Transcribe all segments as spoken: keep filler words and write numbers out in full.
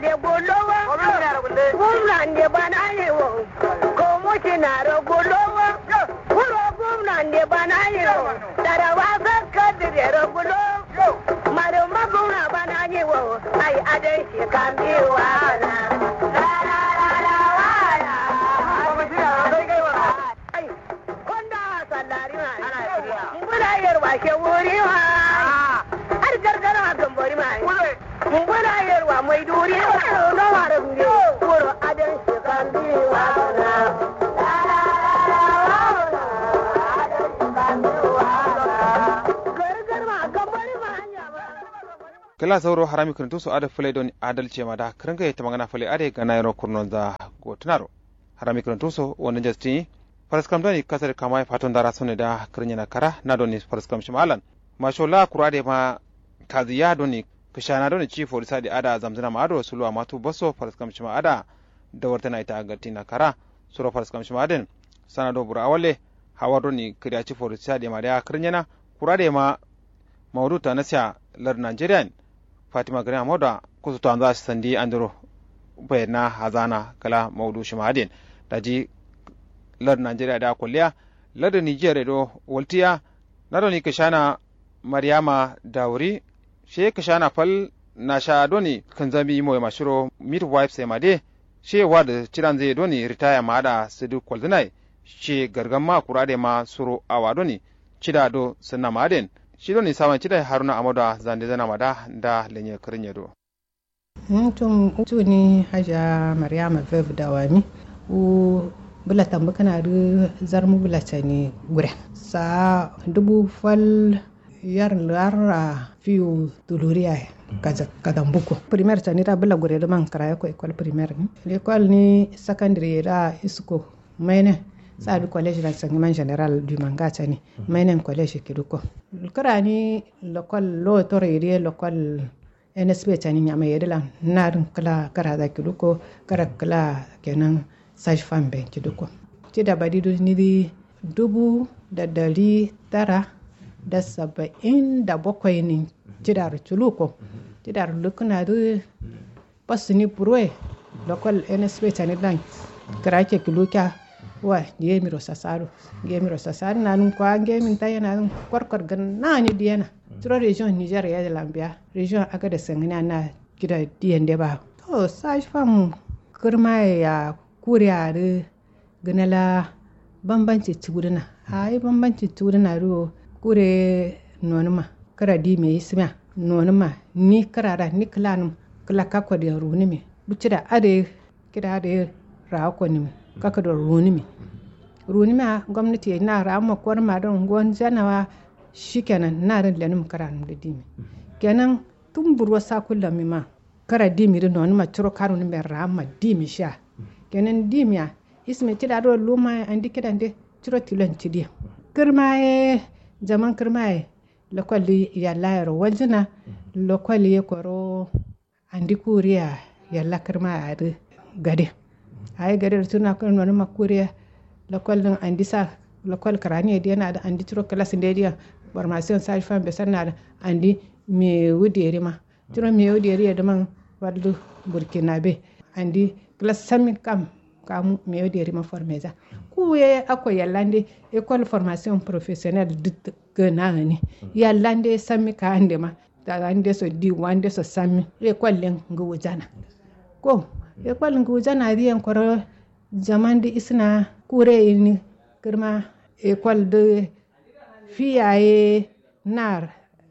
Gullowa, gumnan de bana yewo, komo cinaro gullowa, wuro gumnan de bana yewo, tarawa sakka direro gullo, marumma gumna bana yewo, ai adai shi kambiwa na. Ai, konda sallari ma. Mbula yerwa shewuri ma. Har gargara ma gambori ma. Mbula yerwa mai duri ma. No mara gure. Kuro adan shi kambiwa na. Gargar ma gambori ma hanya ma. Kla sauro harami kǝrǝntu so adǝ fǝlai doni adalce ma da kǝrǝnga ye tǝmangana fǝlai adǝ ye gana yero kurnonza gotǝnaro. Harami kǝrǝntu so wonǝ njastǝ nyi. Faraskam doni kasar kama ye faton dara sone da kǝrǝnyena kara na doni faraskam shima alan masho la kura adǝ ye ma kaziya doni kǝshana doni ci forisa adǝ ye ada zamzǝna ma ado suluwa matu baso faraskam shima ada dawartǝna ita gattina kara. Suro faraskam shima adǝ yen sana do bura awalle hawar doni kǝriya ci forisa adǝ ye ma da ya kǝrǝnyena kura adǝ ye ma maudu tanasiya lardǝ najeriya yen fatima gari amodo a kusutu anza sandi andiro bayyana hazana kala maudu shima adǝ yen. Daji lardǝ najeriya da kolliya lardǝ niger ye do waltiya na doni kǝshana maryama dawuri she kǝshana fal nasha doni kǝnzami moye ma shiro midwife sai ma de she ward cidanzǝ ye doni ritaya ma ada sǝdǝ kolzǝna ye she gargam ma kura adǝ ye ma suro awa doni cida do sǝnna ma adǝ yen shi doni sawan cida ye haruna amodo a zandezana ma da nda lenye kǝrǝnye do. Ntum tuni haja maryama veb dawami wu bǝla tambǝ kǝna dǝ zarmu bǝla cani gure sa dubu fal yar larra fiwu tuluriya ye kazambukko primer cani da bǝla gure dǝ man kǝraye ko ekol primer ni ekol ni sakandare ye da isko mainen sa dǝ kolej lan sangiman general dumanga cani mainen kolej kidukko kǝrani lokol lotoro ye dǝ ye lokol nsp cani nyama ye dǝ lan nadǝn kǝla kǝra za kidukko kǝra kǝla kenan saj fam ben kidukko cida badi dǝ nidǝ dubu da dari tara da saba'in da bakwai nin cidaro culuko cidaro lukǝna dǝ basǝni buroye lokol nsp cani dǝ lan kǝra ke kǝlukiya wa ngiyemiro sasado ngiyemiro sasado nanǝn kwa ngiyemin tayena dǝn korkor gǝnnani diyena curo region niger ye dǝ lan biya region agades sangǝniya na kida diyen de ba to saj fam kǝrmaye ya kure adǝ gǝna la bambanci cudǝna ayi bambanci cudǝna dǝ wo kure nonǝma kǝra dime isǝmiya nonǝma ni kǝra da ni kǝlanǝm kǝla kakko diyen runǝmi bu cida adǝ ye kida adǝ ye rawa konǝmi kakko diyen runǝmi runǝmiya gomnati ye na rawa ma konǝma dǝn ngonjana wa shikenan na dǝn lenǝm kǝranǝm dǝ dime kenan tun burwo sakullamima kara dimi dǝ nonǝma curo karunǝmben raamma dimi shiya kenan dimiya isme cida duro lumaye andi kidande curo tilon cidiye kǝrmaye jaman kǝrmaye lokol dǝ yallayero waljǝna lokol ye koro andi kuriya yalla kǝrmaye adǝ gade ayi gade dǝ curo na kǝro nonǝma kuriya lokol dǝn andi sa lokol kǝraniye diyena adǝ andi curo kǝlasǝ nde diyen formation saj fam be sanna adǝ andi mewu derima curo mewu deri ye dǝman fallu burkina be andi kǝla sammi kam kamu mewu derima formeza kuwu ye akko yallande ekol formation professionnel dǝ gǝna gǝni yallande sammi kawande ma tawande so diwande so sammi ekol len ngǝwujana ko ekol ngǝwujana dǝ yen koro jaman dǝ isǝna kure ye ni kǝrma ekol dǝ fiya ye nar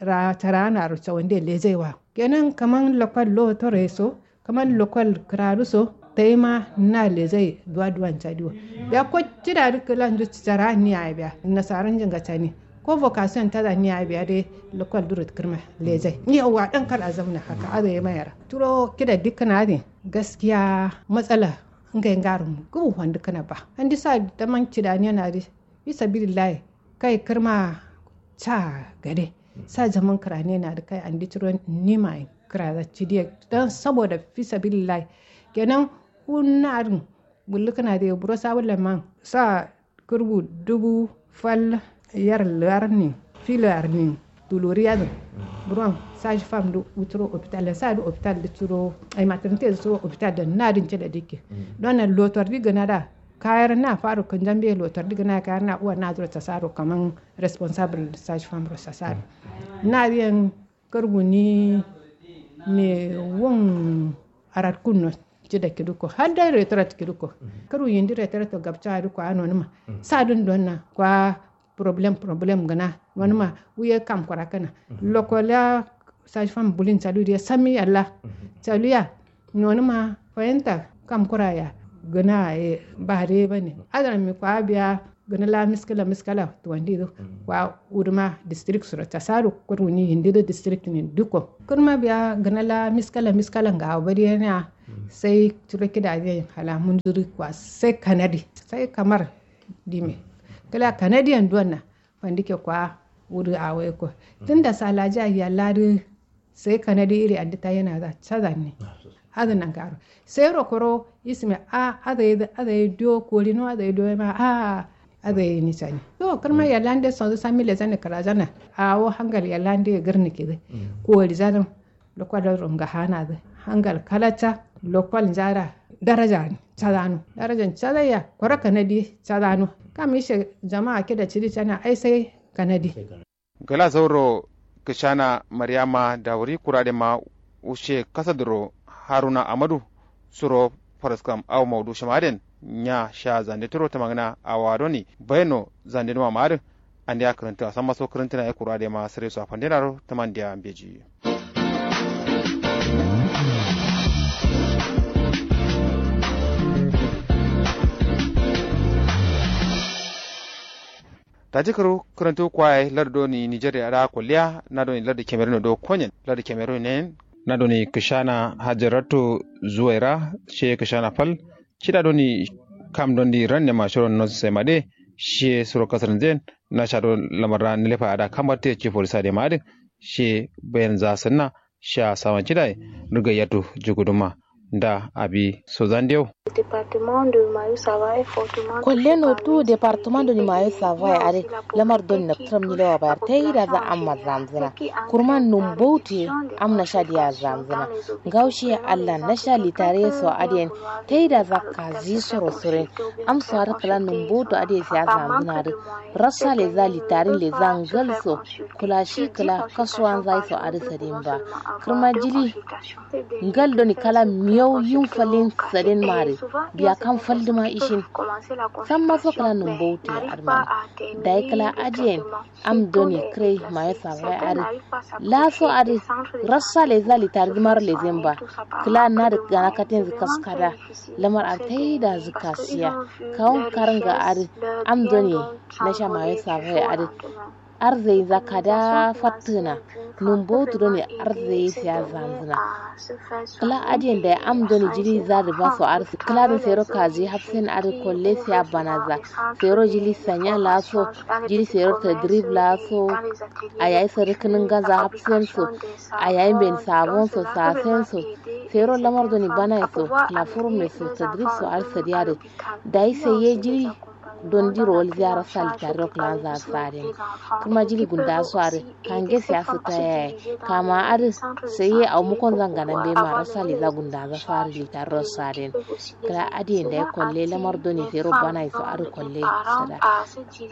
ra tara nar cawande lejai wa kenan kaman lokol lotoro ye so kaman lokol kǝraru so taima na lejai duwa duwan cadi wo biya ko cida dǝ kǝla nju cara ni yayi biya nasaran jinga cani ko vocation tada ni yayi biya dai lokol duro kǝrma lejai ni yawa dan kal azam na haka adǝ ye mayara curo kida dikkǝna adǝ gaskiya matsala ngai ngarum gǝbu fandǝkkǝna ba andi sa daman cida ni yana dǝ fisabilillahi kai kǝrma ca gade sa jaman kǝrane na dǝ kai andi curo nima ye kǝraza cidiye dan saboda fisabilillahi kenan ku na adǝn bullukǝna dǝ ye buro sabullan man sa kǝrbu dubu fal yar larnin filar nin Tuluri yadǝn buron sashi fam dǝ wuturo hopital dǝ sa dǝ hopital dǝ curo ai maternite dǝ curo hopital dǝ na dǝn cida dikke. Don na lotor dǝ gǝna da kayar na faro kǝnjambe lotor dǝ gǝna kayar na uwa na duro sasaro kaman responsable sashi fam ro sasaro. Na dǝ yen kǝrguni me wun aratkun no cida kidǝ ko har dai retorat kidǝ ko. Kǝrgu yindi retorat to gabca dǝ ko a nonǝma sa dǝn don na kwa problem problem gǝna nonǝma wuye kam kura kana. Lokoliya sashi fam bulin calu diye sammi yalla calu ya nonǝma fayinta kam kura ya gǝna ye bare bane adana mi kwa biya gǝna la miskala miskala tuwandi dǝ kwa uduma district suro tasadu kǝrguni yindi dǝ district nin dukko kǝrma biya gǝna la miskala miskala ngawo badiye na sai curo kida zai hala munduri kwa sai kanadi sai kamar dime kǝla kanadi yan duwanna fandike kwa wuri awo yeko tunda salaja yalla dǝ sai kanadi iri addi ta yana za cazan ne. Adǝ nan karo sai rokoro isme a adai adai dio korino adai dio ma a adai ni cani yo kǝrma yalla nde sonzǝ sammi lezane kǝrajana awo hangal yalla nde gǝrni kidǝ kori zadǝ lokwa doro ngahanadǝ hangal kalatta lokwa njara daraja cadano darajan cadaiya koro kanadi cadano kam ishe jama'a kida cidi cana ai sai kanadi. Gala zauro kǝshana maryama dawuri kura dema ushe kasaduro haruna amadu suro faraskam au maudu shima aden nya sha zande turo tamangǝna awa doni baino zande duma ma adǝ. Andeya kǝrǝntǝna samma so kǝrǝntǝna ye kura dema sǝre so afandena ro tamandeya mbeji. Taji kǝru kǝrǝntu kwa yayi lardu doni nigeria da kolliya na doni lardu cameroon do konyen lardu cameroon nen. Na doni kǝshana hajaratu zuwaira she kǝshana fal cida doni kam dondi ranne ma shiro no sai ma de she suro kasar zen. Na sha do lamar da nilefa ada kamar te ci polisa de ma adin she bayan za sanna sha sawan cida riga yatu juguduma. Nda abi sozan deu. Kolle no tu departement doni mayo savaye are lamar doni naptǝram nyilewa bayar taida za amma zamzǝna. Kurman numbautu ye am nasha diya zamzǝna. Ngaushe allah nasha litare so adiyen taida za kazi soro soren. Am so adǝ kǝla numbautu adiye siya zamzǝna adǝ rassa leza litarin leza ngal so. Kǝla shi kǝla kasuwan zai so adǝ sadin ba kǝrma jili. Ngal doni kala miyau yin falin sadin mare biya kam falduma ishin. Samma so kǝla numbautu ye adǝ mare dayi kǝla adiyen am doni kǝrai mayo savaye adǝ. Laso adǝ rassa leza litari dǝmaro lezen ba kǝla nadǝ gana katenzu kaskada. Lamar adǝ taida zǝ kasiya kawun karnga adǝ am doni nasha mayo savaye adǝ. Arzai za kada fattǝna. Numbautu done arzai siya zanzǝna. Kǝla adiyen dayi am done jili zadǝ baso adǝ kǝla dǝ sairo kazi hafsen adǝ kolle siya banaza. Sairo jili sanya laso jili sairo tadrib laso. Ayayi sarǝ kǝnǝngaza hafsen so. Ayayi mben sabon so sasen so. Sairo lamar done banaye so kǝla furum ne so tadrib so adǝ sadiya dǝ. Dayi sai ye jili dondiro walziya rassa litariro kǝlanza saden. Kǝrma jili gundaso adǝ kange siyasa ta yaye kama adǝ. Sai ye awo mukonza ngana mbeyi ma rassa leza gundaza so adǝ litariro saden. Kǝla adiyen dayi kolle lamar done sairo banaye so adǝ kolle sada.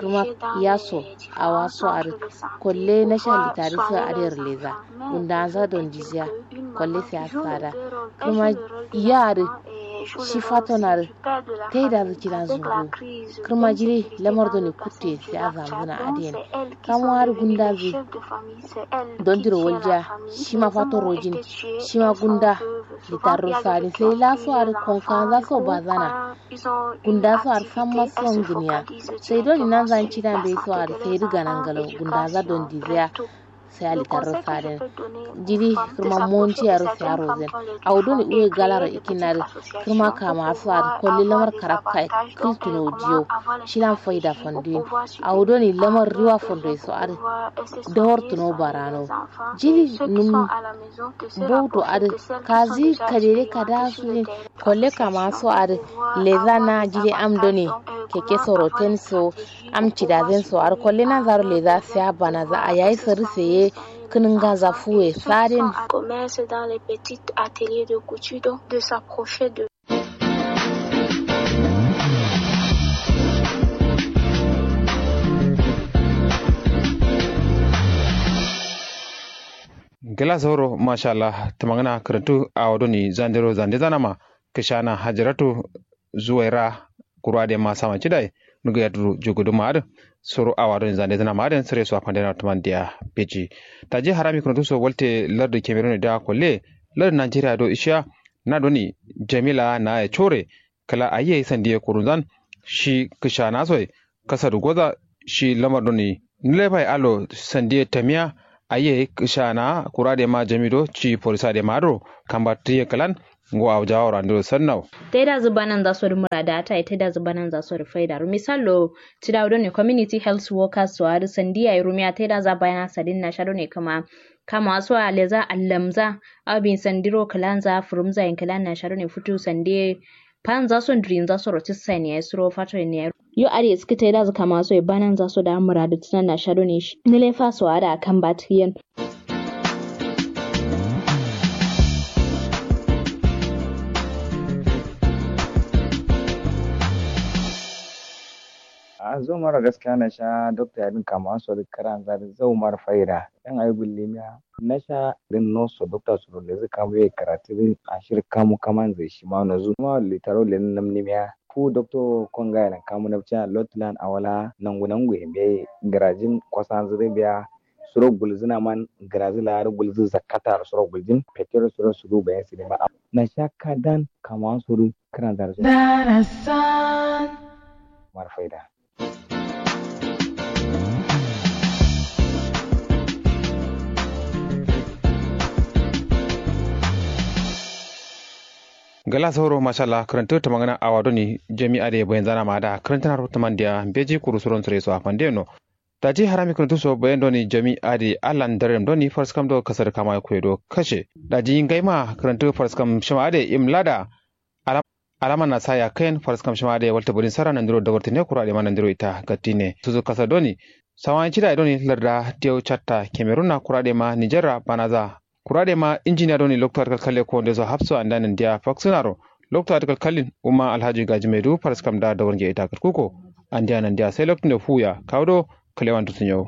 Kǝrma yaso awaso adǝ kolle nasha litari so adǝ yar leza. Gundaza dondiziya kolle siyasa da. Kǝrma ya adǝ shi faton adǝ taidazǝ cidanzǝ ngu. Kǝrma jili lamar done kuttuye sai azamzǝna adiyen. Kamu adǝ gundazǝ dondiro waljiya shima fato rojin. Shima gunda litarro so adǝ sai laso adǝ konkanza so bazana. Gunda so adǝ samma so ngǝniya. Sai doni nanza ncidan bai so adǝ sai dǝ ganangalo gundaza dondiziya. Sai alitarro saden. Jiri kǝrma monti yaro sai arozen. Awo doni uwe galaro ikinadǝ. Kǝrma kama so adǝ kolle lamar karabka ye kǝltuno diyo. Shilan faida fanduyin. Awo doni lamar riwa fanduye so adǝ. Dawartuno barano. Jiri num bauto adǝ kazi kadere kada sudin. Kolle kama so adǝ leza na jiri am doni. Keke soroten so am cidazen so har kolle na zaro leza sai abana za a yayi sarri saye kinin ganza fuwe sadin. Commerce dans les petits ateliers de couture, donc de s'approcher de Gla zauro mashallah. Tamangana karantu awo doni zandero zande zanama kishana hajaratu zuwaira. Kuru adai ma saman cidai nugu yaduru jugudu ma adin. Soro awa doni zande zanama adin sire so afande na tuman diya. Beji taji harami karantu so walte lardu cameroon da kolle lardu nigeria do ishiya. Na doni jamila na ya core kala ayi yayi sandiye kurunzan shi kishana soi. Kasadu goza shi lamar doni nulefai alo sandiye tamiya. Ayi yayi kishana kura de ma jamido ci polisa de ma adro kamba tiye kalan. Ngo awo jawaro andiro sannau. Taida zu banan za so du murada ta taida zu banan za so du faida ru misallo. Tidawo doni community health workers so adu sandiya rumiya taida za bayana sadin na sha doni kama kama so aleza allamza. Abin sandiro kalanza furumza yin kalan na sha doni futu sandiye. Panza so ndrinza so rotis sani ya suro fato ne ya yo ade suka taida zu kama so banan za so da muradu tunan na sha doni. Nile faso ada kamba tiyen. Ahh zau mara gaskiya nasha dokta yadin kamawa so duk kǝranza duk zau mara faida. Yan ayi gullimiya nasha din noso dokta suro lezǝ kamu ye karatu din ashir kamu kamanzǝ shima nozu kuma litaro lezǝ namnimiya. Fu dokto konga yalan kamu nabciya lottulan awala nangu nangu ye mbeyi gǝrajin kwasanzǝ dǝ biya. Suro gulzǝna man gǝrazǝ laa dǝ gulzǝ zakkata dǝ suro guljin fetero suro sudu bayan sǝdima. Nasha kadan kamawa so dǝ kǝranza dǝ so. Darasan. Mara faida. Gala sauro mashallah kǝrantǝ tǝmangǝna awa doni jami adǝ ye bayanzana ma adǝ a kǝrantǝna ro tǝmandiya mbeji kuru suron sǝre so afande no. Daji harami kǝrantǝ so bayan doni jami adǝ ye allan darem doni farskam do kasar kama ye kuye do kashe daji ngaima kǝrantǝ farskam shima adǝ ye imlada. Alama nasa yakkayen faraskam shima adai walta badin sara nandiro dawartine kura adai ma nandiro ita gattine suzu kasa doni. Sawayin cida ye doni larda diyau catta cameroon na kura adai ma niger ra banaza. Kura adai ma injiniya doni loktu adai kalkalle kowonde so hafso andiya nandiya faksinaro. Loktu adai kalkallin umma alhaji gaji maidu faraskam da dawarnge ita gatkuko. Andiya nandiya sai loktu nde fuya kawu do. Kalewan dusu nyawu.